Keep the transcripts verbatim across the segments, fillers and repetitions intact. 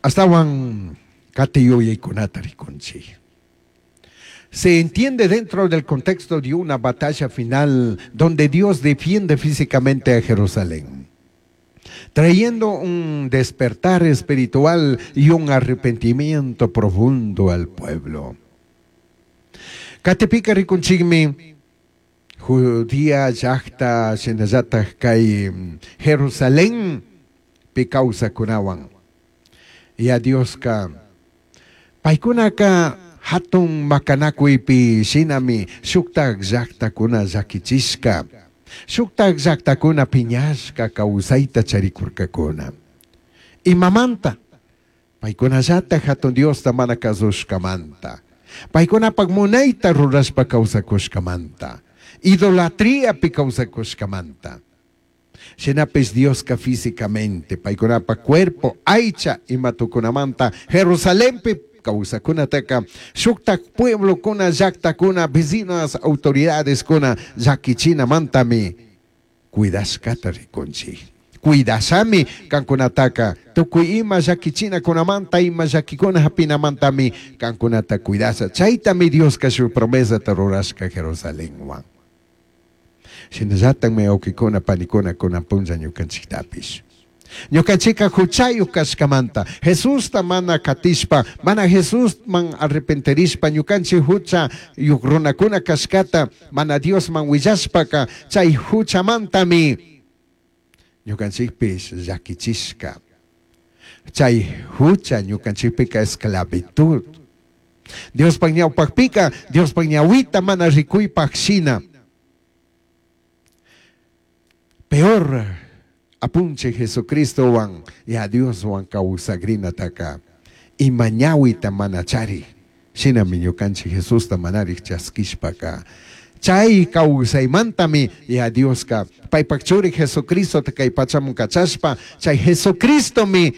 Ashtahuan cati yuyaykunata rikunchik. Se entiende dentro del contexto de una batalla final donde Dios defiende físicamente a Jerusalén, trayendo un despertar espiritual y un arrepentimiento profundo al pueblo. Katipika rikunchikmi Judía llaqta shinallataj kay Jerusalén pi kawsakunawan. Ya Dioska paykunaka hatun makanakuypi shinami shuktak llaqtakuna llakichishka, shuktak llaqtakuna piñashka kawsayta charikurkakuna. Imamanta paykunallataj hatun Diosta mana kasushkamanta, paykunapak munayta rurashpa kawsakushkamanta, idolatriapi kawsakushkamanta. Shinapish Dioska físicamente paykunapak cuerpo aycha imatukunamanta Jerusalenpi kawsakunataka shuktak pueblokuna llaqtakuna vecinas autoridadeskuna llakichinamantami cuidashkata rikunchik. Cuidashami kankunataka tukuy ima llakichinakunamanta ima llakikuna hapinamantami kankunata cuidasha. Chaytami Dioska shuk promesata rurashka Jerusalenwan. Shinallatakmi wawqikuna panikuna kunan punlla ñukanchiktapish. Ñukanchika huchayuq kashkamanta Jesusta mana katishpa, mana Jesusman arrepentirishpa ñukanchik huchayuq runakuna kashkata mana Diosman willashpaka chay huchamantami ñukanchikpish llakichishka. Chay hucha ñukanchikpika esclavitud. Diospaq ñawpaqpika Diospaq ñawita mana rikuypaq shina. Peor apunche Jesucristowan ya Dioswan kawsakrinataka ima ñawita mana chari. Shinami ñukanchik Jesusta manarik chaskishpaka chay kawsaymantami ya Dioska paypak churi Jesucristota kay pachaman kachashpa chay Jesucristomi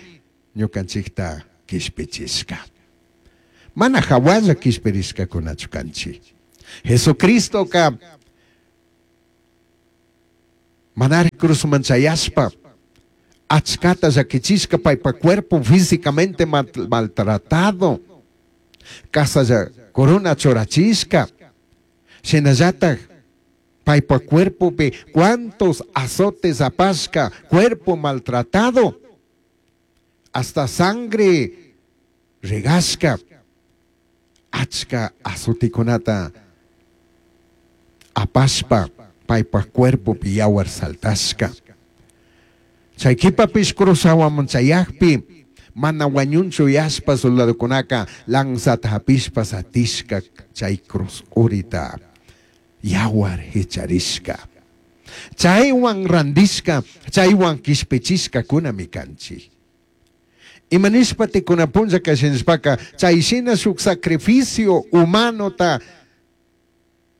ñukanchikta kishpichishka. Mana hawalla kishpirishkakunachu kanchik. Jesucristoka manari cruzman chayashpa achkata llakichishka paypa cuerpo físicamente maltratado, kasalla corona churachishka, shinallataj paypa cuerpopi cuántos azotes apashka, cuerpo maltratado, hasta sangre regashka, achka azotikunata apashpa paypa cuerpopi yawar saltashka. Chay kipapish cruzawaman chayakpi mana wañunchu yashpa soldadokunaka lanzata hapishpa satishka chay cruz urita yawar hicharishka. Chaywan randishka, chaywan kishpichishka kunami kanchik. Imanishpa tikuna punlla kashinishpaka chay shina shuk sacrificio humanota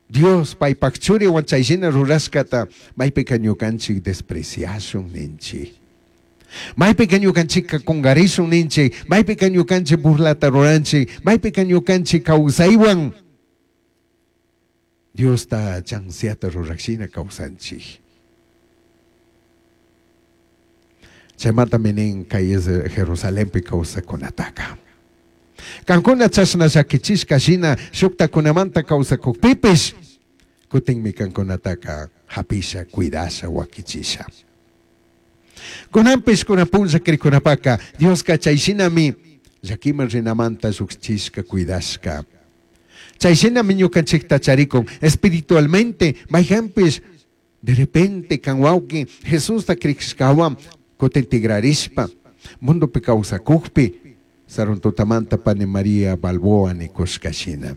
Dios paypak churiwan chay shina rurashkata maypika ñukanchik despreciashun ninchik. Maypika ñukanchikka kungarishun ninchik, maypika ñukanchik burlata ruranchik, maypika ñukanchik kawsaywan Diosta chansiata rurashina kawsanchik. Chaymantami nin kay Jerusalenpi kawsakunataka. Kankuna chashna llakichishka shina shuktakunamanta kawsakukpipish kutinmi kankunataka hapisha, cuidasha, wakichisha. Kunanpish kunan punlla krikunapaka Dioska chay shinami llakiman rinamanta llukchishka, cuidashka. Chay shinami ñukanchikta charikun espiritualmente mayhanpish de repente kan wawqi Jesusta krishkawan kutin tigrarishpa mundopi kawsakukpi sarun tutamanta pani María Balboa nikushka shina.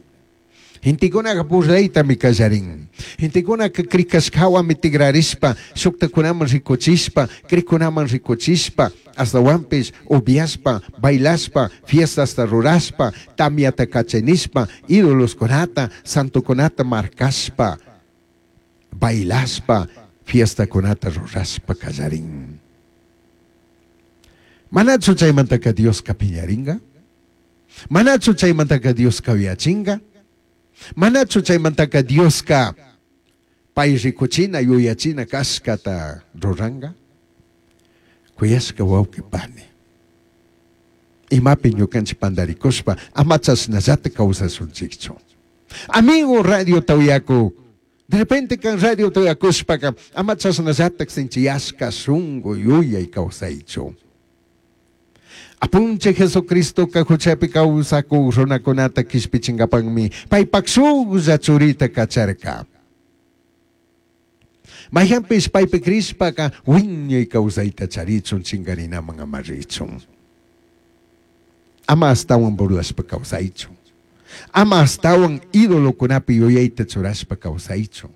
Gentekunaka burlaytami kallarin. Gentekunaka krikashkawami tigrarishpa, shuktakunaman rikuchishpa, krikunaman rikuchishpa, astawanpish upiashpa, bailashpa, fiestasta rurashpa, tamyata kachanishpa, ídoloskunata, santokunata markashpa, bailashpa, fiestakunata rurashpa kallarin. Manachu chaymantaka Dioska piñaringa? Manachu chaymantaka Dioska uyachinga? Manachu chaymantaka Dioska pay rikuchina yuyachina kashkata ruranga? Kuyashka wawqi pani. Imapi ñukanchik pandarikushpa ama chashnallata kawsashunchikchu. Amigo radio uyaku, de repente kan radio uyakushpaka ama chashnallata sinchiyashka shunku yuyay kawsaychu. Apunchik Jesucristoka huchapi kawsakuk runakunata kishpichinkapakmi paypak shuklla churita kacharka. Mayhanpish paypi crishpaka wiñay kawsayta charichun chinkarinaman ama richun. Ama astawan burlashpa kawsaychu. Ama astawan idolokunapi yuyayta churashpa kawsaychu.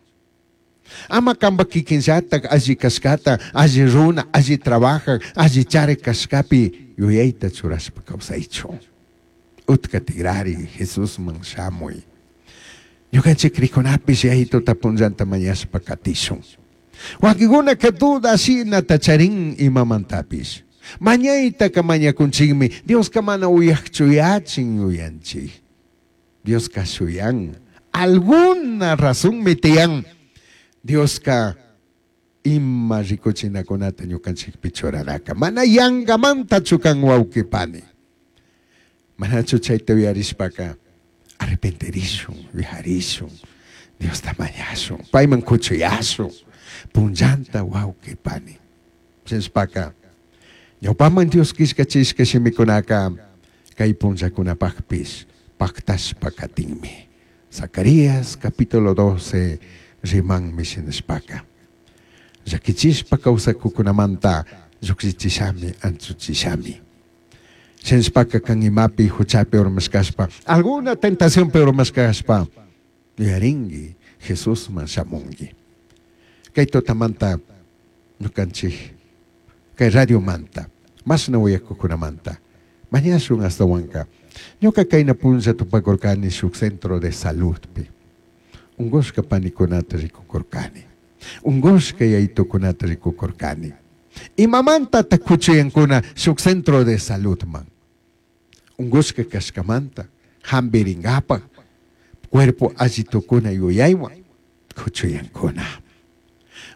Ama kanpak kikinllatak alli kashkata, alli runa, alli trabajak, alli charik kashkapi yuyayta churashpa kawsaychu. Utka tigrari Jesusman shamuy. Ñukanchik crikunapish yayituta punllanta mañashpa katishun. Wakinkunaka duda shinata charin imamantapish. Mañaytaka mañakunchikmi, Dioska mana uyakchu yachin yuyanchik. Dioska shuyan. Alguna razonmi tiyan. Dioska ima rikuchinakunata ñukanchikpi churaraka. Mana yangamantachu kan wawqi pani. Manachu chayta uyarishpaka arrepentirishun, vijarishun, Diosta mañashun, payman kuchuyashun, punllanta wawqi pani. Shinashpaka ñawpaman Dios killkachishka shimikunaka kay punllakunapakpish paktashpa katinmi. Zacarías capítulo doce rimanmi shinashpaka. Llakichishpa kawsakukunamanta llukshichishami, anchuchishami. Shinashpaka kan imapi huchapi urmashkashpa, alguna tentacionpi urmashkashpa, yuyarinki Jesusman shamunki. Kay tutamanta ñukanchik, kay radiomanta, mashna uyakukunamanta, mañashun astawanka. Ñuka kayna punlla tupakurkani shuk centro de saludpi. Ungushka panikunata rikukurkani. Ungushka yayitukunata rikukurkani. Imamanta kuchuyankuna shuk centro de saludman. Ungushka kashkamanta, hampirinkapak, cuerpo alli tukuna yuyaywan kuchuyankuna.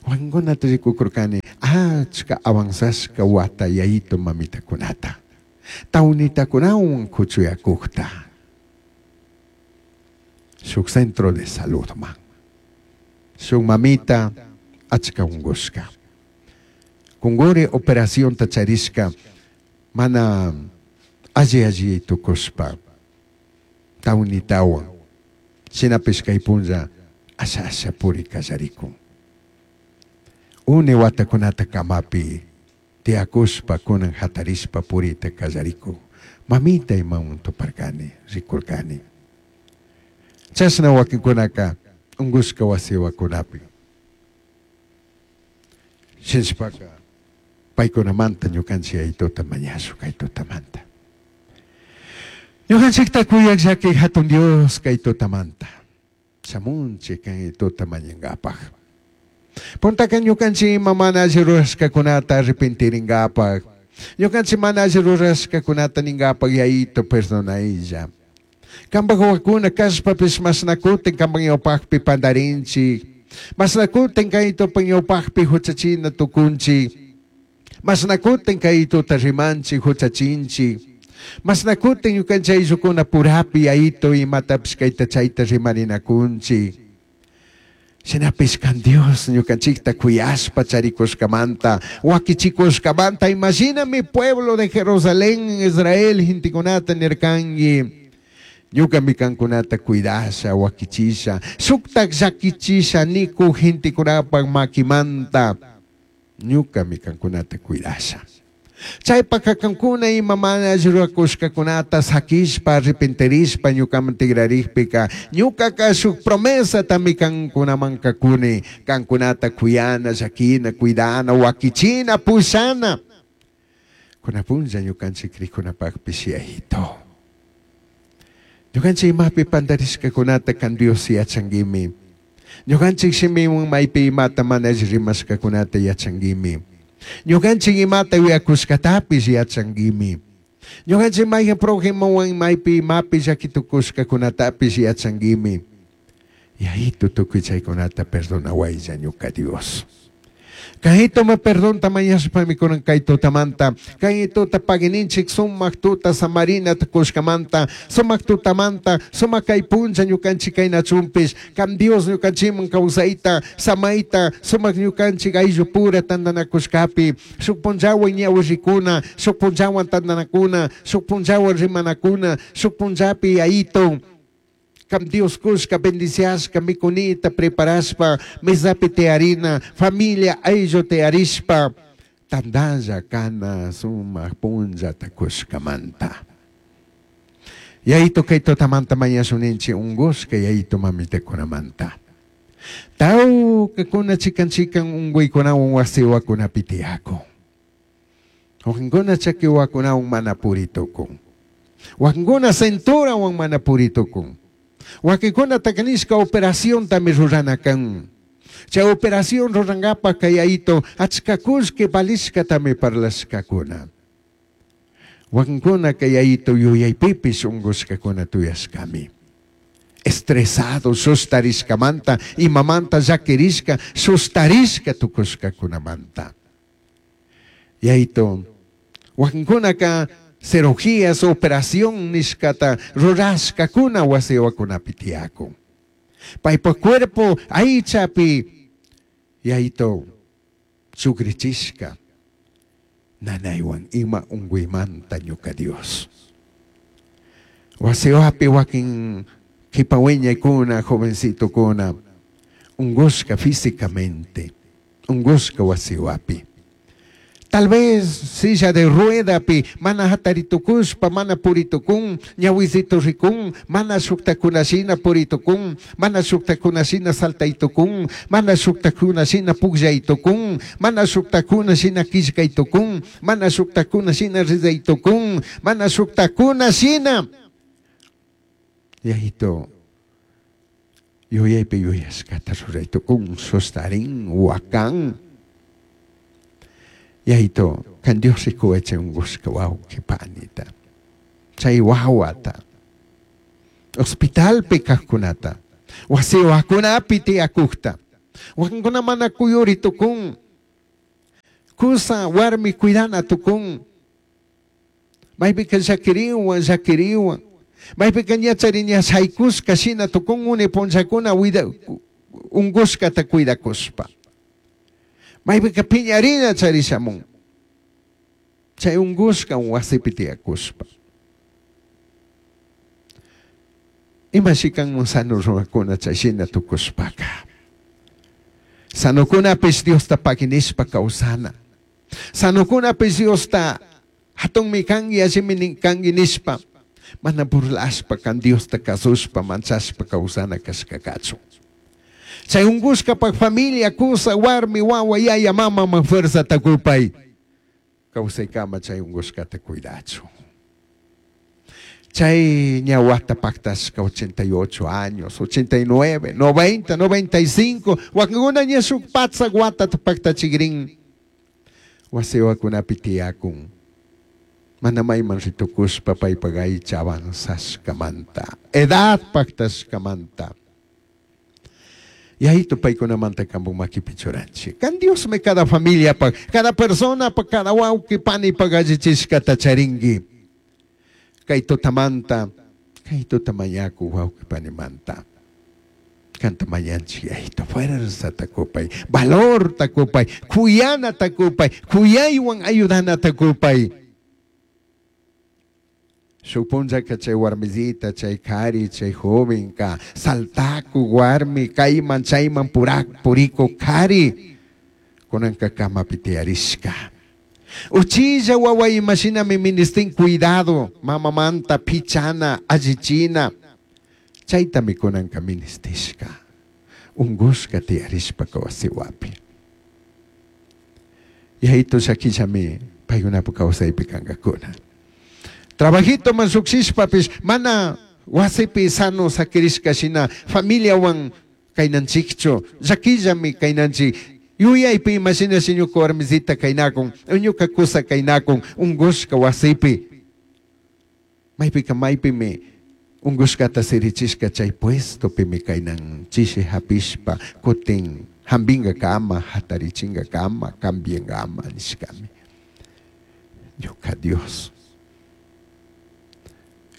Wakinkunata rikukurkani achka avanzashka wata yayito mamitakunata. Tawnitakunawan kuchuyakukta. Shuk centro de saludman. Shuk mamita achka ungushka. Kunguri operacionta charishka mana alli alli tukushpa tawnitawan. Shinapish kay punlla asha asha puri kallarikun. Une watakunata kamapi tiyakushpa kunan hatarishpa purita kallarikun. Mamita imawan tuparkani, rikurkani. Chashna wakinkunaka ungushka wasiwakunapi. Shinashpaka paykunamanta ñukanchik yayituta mañashun kay tutamanta. Ñukanchikta kuyak llaki hatun Dios kay tutamanta. Shamunchik kay tuta mañankapak. Puntaka ñukanchik ima mana alli rurashkakunata arrepentirinkapak. Ñukanchik mana alli rurashkakunata ninkapak yayito perdonaylla. Kanpak wawakuna kashpapish mashnakutin kanpak ñawpakpi pandarinchik. Mashnakutin kaytupak ñawpakpi huchachina tukunchik. Mashnakutin kaytuta rimanchik huchachinchik. Mashnakutin ñukanchik ayllukuna purapi yayito imatapish kayta chayta rimarinakunchik. Shinapish kan Dios ñukanchikta kuyashpa charikushkamanta, wakichikushkamanta, imagina mi pueblo de Jerusalén, Israel, gentekunata nirkanki. Ñukami kankunata cuidasha, wakichisha, shuktak llakichisha niku gentekunapak makimanta. Ñukami kankunata cuidasha. Chaypaka kankuna ima mana alli rurakushkakunata sakishpa, arrepentirishpa ñukaman tigrarikpika, ñukaka shuk promesatami kankunaman kakuni, kankunata kuyana, llakina, cuidana, wakichina, pushana. Kuna punlla ñukanchik krikunapakpish yayito. Ñukanchik imapi pandarishkakunata kan Dios yachankimi. Ñukanchik shimiwan maypi imata mana alli rimashkakunata yachankimi. Ñukanchik imata uyakushkatapish yachankimi. Ñukanchik mayhan prójimowan maypi imapi llakitukushkakunatapish yachankimi. Yayito tukuy chaykunata perdonawaylla ñuka Dios. Kaytoma perdonta mañashpami kunan kay tutamanta, kay tuta pagininchik sumak tuta samarina tukushkamanta, sumak tutamanta, sumak kay puncha ñukanchik kaynachunpish, kam Dios ñukanchikman kawsayta, samayta, sumak ñukanchik ayllupura tantanakushkapi, shuk punllawan ñawirikuna, shuk punllawan tantanakuna, shuk punllawan rimanakuna, shuk punllapi ayito. Kam Dios kushka bendiciashka mikunita preparashpa mesapi tiyarina familia ayllu tiyarishpa tantalla kana sumak punllata kushkamanta. Yayito kay tutamanta mañashuninchik unkushka yayito mamitakunamanta. Tawkakuna chikan chikan unkuykunawan wasiwakunapi tiyakun. Wakinkuna chakiwakunawan mana puritukun. Wakinkuna centurawan mana puritukun. Wakinkuna takanishka operación tami rurana kan. Chay operación rurankapa kay ayito achka kullki valishka tami parlashkakuna. Wakinkuna kay ayito yuyaypipish unkushkakuna tuyashkami. Estresado, sustarishkamanta, imamanta llakirishka, sustarishka tukushkakunamanta. Yayito, wakinkunaka cirugías, operación nishkata rurashkakuna wasiwakunapi tiyakun. Paypa cuerpo aychapi yayito chukrichishka nanaywan ima unkuymanta ñuka Dios. Wasiwapi wakin kipawiñaykuna, jovencitokuna, unkushka físicamente, unkushka wasiwapi. Tal vez silla de ruedapi, mana hataritukushpa, mana puritukun, ñawisito rikun, mana shuktakunashina puritukun, mana shuktakunashina saltaytukun, mana shuktakunashina pukllaytukun, mana shuktakunashina killkaytukun, mana shuktakunashina rizaytukun, mana shuktakunashina. Yayito, yuyaypi yuyashkata ruraytukun, sustarin, wakan. Yayito, kan Dios rikuwache unkushka wawqi panita, chay wawata, hospitalpi kajkunata, wasiwakunapi tiyakujta, wakinkuna mana kuyuri tukun, kusa warmi cuidana tukun, maypika llakiriwan, llakiriwan, maypika ñachari ñashaykushka shina tukun uni punllakuna unkushkata cuidakushpa. Maypika piñarina charishamun. Chay unkushka wasipi tiyakushpa. Imashi kanman sano runakuna chay shina tukushpaka. Sanokunapish Diosta pakinishpa kawsana. Sanokunapish Diosta hatunmi kanki allimi kanki nishpa. Mana burlashpa kan Diosta kasushpa manchashpa kawsana kashkakachu. Chay unkushkapak familia, kusa, warmi, wawa, yaya, mama, man fuerza takupay. Kawsaykama chay unkushkata cuidachu. Chay ñawata paktashka ochenta y ocho años, ochenta y nueve, noventa, noventa y cinco, wakinkuna ña shuk patsak watata paktachikrin. Wasiwakunapi tiyakun. Mana mayman ritukushpa paypak aycha avanzashkamanta, edad paktashkamanta. Yayito paykunamanta kampu makipi churanchik. Kan Dios me cada familia pa, cada persona pa, cada wawqi pani pa allichishkata charinki. Kay tutamanta, kay tutamañaku wawqi panimanta. Kanta mañanchik yayito fuerza takupay, valor takupay, kuyana takupay, kuyaywan ayudana takupay. Shuk punllaka chay warmisita, chay kari, chay jovenka, saltaku warmi, kayman chayman purak puriku kari, kunanka kamapi tiyarishka. Uchilla wawa imashinami ministin cuidado, mamamanta pichana, allichina, chaytami kunanka ministishka. Ungushka tiyarishpa kawasiwapi. Yayito llakillami paykunapu kawsaypi kankakuna. Trabajito man lluqshishpapish mana wasipi sano sakirishka shina familiawan kaynanchikchu llakillami kaynanchik yuyaypi imashinashi ñuka warmisita kaynakun ñuka kusa kaynakun unkushka wasipi maypika maypimi unkushkata sirichishka chay puestopimi kaynan chishi hapishpa kutin Jambingakama, hatarichingakama, cambiangama nishkami. Ñuka Dios.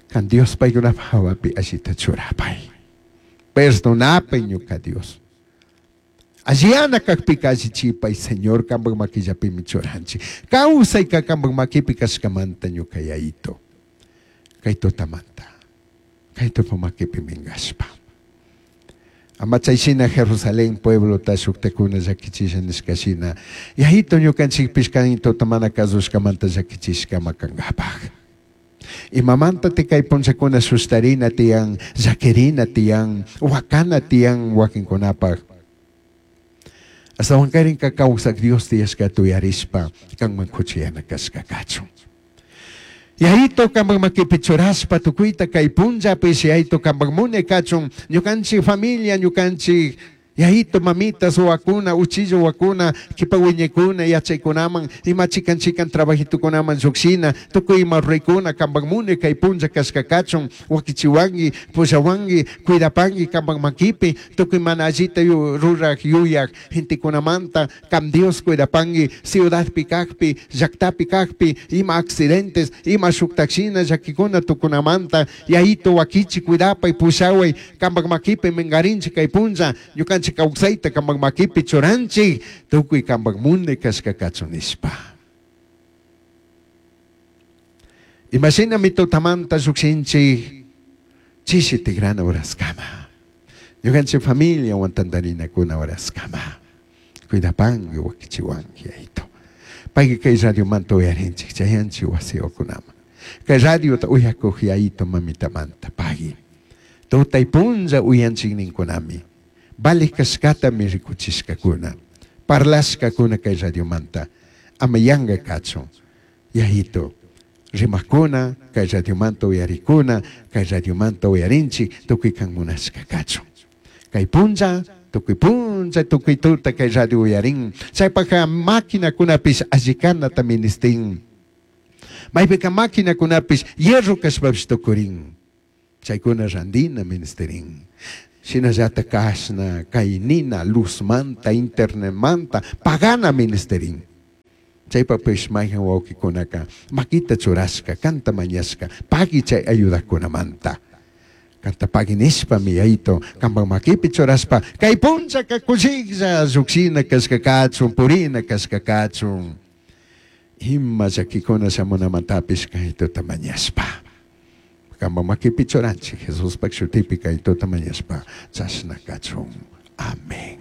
Kan Dios paykunapaj hawapi allita churapay. Perdonapay ñuka Dios. Alliyana kakpika allichipay, Señor, kanpak makillapimi churanchik. Kawsayka kanpak makipi kashkamanta ñuka Yayito. Kay tutamanta. Kay tupa makipi minkashpa. Ama chayshina Jerusalén pueblota shuktakuna llakichisha nishkashina. Yayito ñukanchikpish kan tuta mana kasushkamanta llakichishkama kankapaj. Imamanta kay punchakuna sustarina tiyan, llakirina tiyan, wakana tiyan wakinkunapaj. Ashtawankarinka kawsak Dios tiyashkata uyarishpa kanman kuchiyana kashka kachun. Yayito kanpak makipi churashpa tukuyta kay punllapish Yayito kanpak munay kachun ñukanchik familia ñukanchik Yayito mamitas wawakuna uchilla wawakuna kipa wiñaykuna yachaykunaman ima chikan chikan trabajitukunaman llukshina tukuy ima ruraykuna kanpak munay kay punlla kashka kachun wakichiwanki pushawanki cuidapanki kanpak makipi tukuy mana allita ruraj yuyaj gentekunamanta kan Dios cuidapanki ciudadpi kakpi llaktapi kakpi ima accidentes ima shuktakshina llakikuna tukunamanta Yayito wakichi cuidapay pushaway kanpak makipi minkarinchik kay punlla ñukanchik kawsayta kanpak makipi churanchik tukuy kanpak munay kashka kachun nishpa. Imashinami tutamanta llukshinchik chishi tigrana horaskama. Ñukanchik familiawan tantarinakuna horaskama. Cuidapanki wakichiwanki Yayito. Payka kay radiomanta uyarinchik chayanchik wasiwakunaman. Kay radiota uyakuq Yayito mamitamanta pagui. Tutay punlla uyanchik ninkunami. Vale kashkatami rikuchishkakuna. Parlashkakuna kay radiomanta. Ama yanka kachun. Yayito. Rimakuna, kay radiomanta uyarikuna, kay radiomanta uyarinchik, tukuy kan munashka kachun. Kay punlla, tukuy punlla, tukuy tuta kay radio uyarin. Chaypaka maquinakunapish allikanata ministin. Maypika maquinakunapish hierro kashpapish tukurin. Chaykuna randina ministerin. Shinallata kashna, kaynina, luzmanta, internetmanta, pagana ministerin. Chaypapish mayhan wawqikunaka makita churashka, kanta mañashka, pagui chay ayudakunamanta. Kanta pagui nishpami Yayito, kanpak makipi churashpa, kay punllaka kushiklla llukshina kashka kachun, purina kashka kachun. Ima llakikuna shamunamantapish kaytuta mañashpa. Kanpak makipi churanchik, Jesuspak shutipi kaytuta mañashpa, chashna kachun. Amén.